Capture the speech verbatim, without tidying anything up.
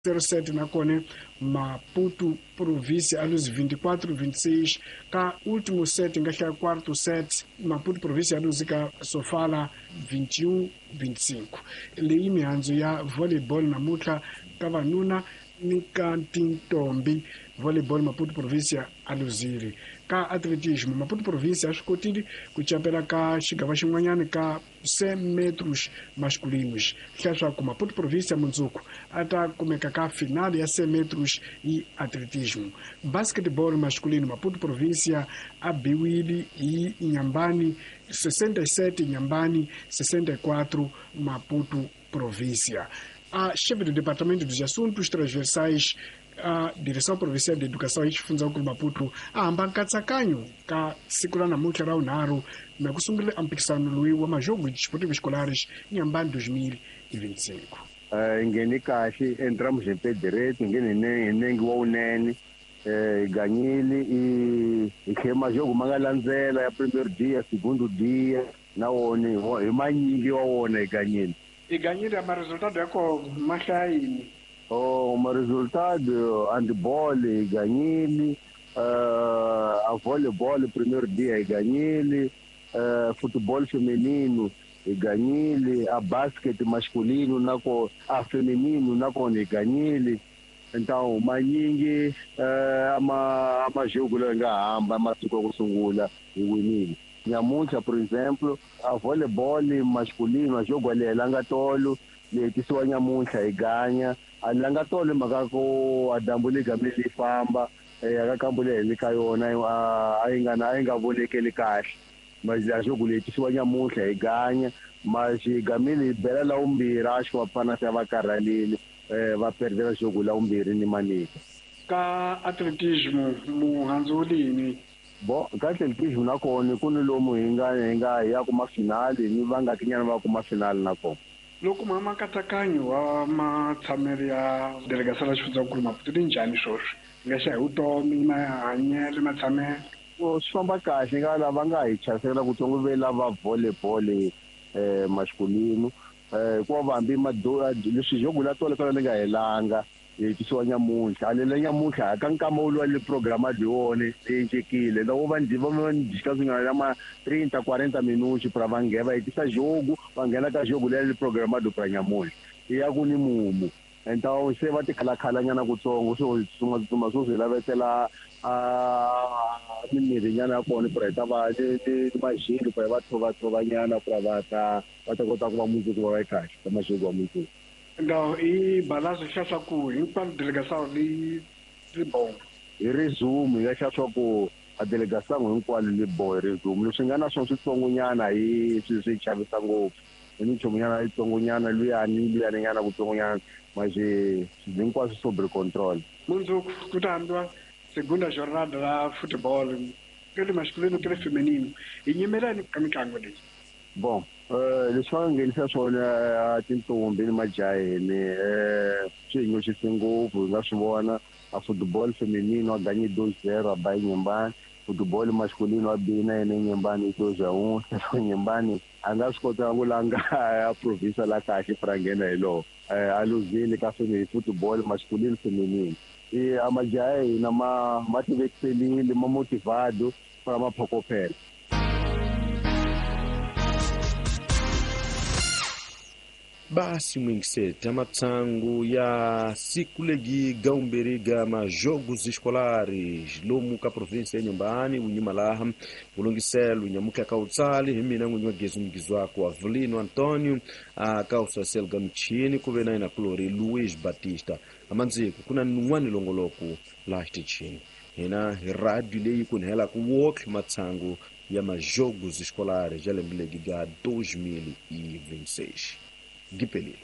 Terceiro set na kona Maputo província a luz vinte e quatro vinte e seis ka último set nga hlaya quarto set Maputo província a luz ka Sofala vinte e um vinte e cinco leyi mihandzu ya volleyball namuntlha ka vanuna ni ka tintombi volleyball Maputo província a luzile ka atletismo Maputo província a swi kotile ku campela ka xigava xin'wanyana ka cem metros masculinos hlaya swa ku Maputo província mundzuku a ta kumeka ka final ya cem metros e atletismo basketball masculino Maputo província a biwile hi Inhambane sessenta e sete Inhambane sessenta e quatro Maputo província. A chefe do Departamento dos Assuntos Transversais, a Direção Provincial de Educação e Xifundzakulu Maputo, a hamba nkatsakanyo ka siku ra namuntlha ra vunharhu na ku sungula a mphikisano lowu wa majogo desportivos escolares Inhambane dois mil e vinte e cinco. Hi ngheni kahle entramos em pé direito, ngheni hi nenge wa wunene, hi ganyile hi tlhe majogo ma nga landzela ya primeiro dia, segundo dia na wona hi manyingi wa wona hi ganyile. I ganyile ma resultado ya ko ma hlaya yini? Oh, ma resultado handball hi ganyile, uh, a volleyball primeiro dia hi ganyile, uh, futebol feminino hi ganyile, a basket masculino na ko a feminino na kona hi ganyile. Então manyingi uh, ama amajogo lawa nga hamba masiku ya ku sungula hi winile. Nyamuntlha por exemplo a volleyball masculino a jogo ali langa tolo le tisiwa nyamuntlha hi ganya a langa tolo mhaka ku a dyambu li gamile li famba aka kambu leyi li ka yona a yi nga a yi nga vonekeli kahle mas a jogo le tisiwa nyamuntlha hi ganya mas hi gamile hi bela la vumbirhi a xi va pfana se va karhalile va perdela jogo la vumbirhi ni manika. Ka atletismo muhandzu wu lini? Bo ka atletismo na kona ku ni lomu hi nga hi nga hi ya kuma finali ni va nga tinyana va kuma finali na kona. Loko mama nkatsakanyo wa matshamelo ya delegação la xifundzakulu Maputo li njhani swoswi nga xa hi vutomi mahanyelo matshamelo? Swi famba kahle nga lava nga hi chavisela kutsongo ve lava volleyball eh masculino eh hikuva hambi leswi jogo la tolo tolo li nga helanga hi tisiwa nyamuntlha a lela nyamuntlha ka nkama wu le programa di wona leyi loko va ndzi va ndzi swi nga ma trinta quarenta minutos pra va nghena va hetisa jogo va nghena ka jogo leri programado pra nyamuntlha ya ku ni mumu então se va tikhalakhalanyana kutsongo swo tsutsuma swo swi lavetela a mimirhi nyana ya kona pra hi ta va ni majelo pra va tshovatshovanyana pra va ta va ta kota ku va mundzuku va va kahle ka majelo wa mundzuku. Então i balanço xa swa ku hinkwalo delegação li li bom hi resumo ya xa swa ku a delegação hinkwalo li bo hi resumo leswi nga na swona switsongonyana hi swi swi chavisa ngopfu hi minchumu-nyana yitsongonyana luyani luyani nyana kutsongonyana mas hinkwaswo sobre control. Mundzuku ku ta hambiwa segunda jornada la futebol ke le masculino ke le feminino hi nyimelani ka mitlangu leyi? Bom, leswi va nga nghenisa swona tintombi ni majaheni swi hi nyoxise ngopfu hi nga swi vona a football feminino a ganye dois zero a ba Inhambane, football masculino a bina yena Inhambane dois a um Inhambane a nga swi kota ku langa a province la kahle pra nghena hi lowo a luzile ka football masculino feminino i a majaha hina ma ma tivekiselile ma motivado para ma phokophela. Basi mwingiseta matsangu ya siku legi gaumberiga majogos escolares lomu ka província ya Inhambane unyuma laha ulungiselo unyamuka ka utsali hi mina n'winyi wa gezi mugizwako Avelino Antonio a ka usasel gamchini kuve na ina kulori Luiz Batista amandziko kuna nun'wani longoloko laha xitichini hina hi radio leyi kunhela ku wokhe matsangu ya majogos escolares ya lembe legi ga dois mil e vinte e seis. Gipelile.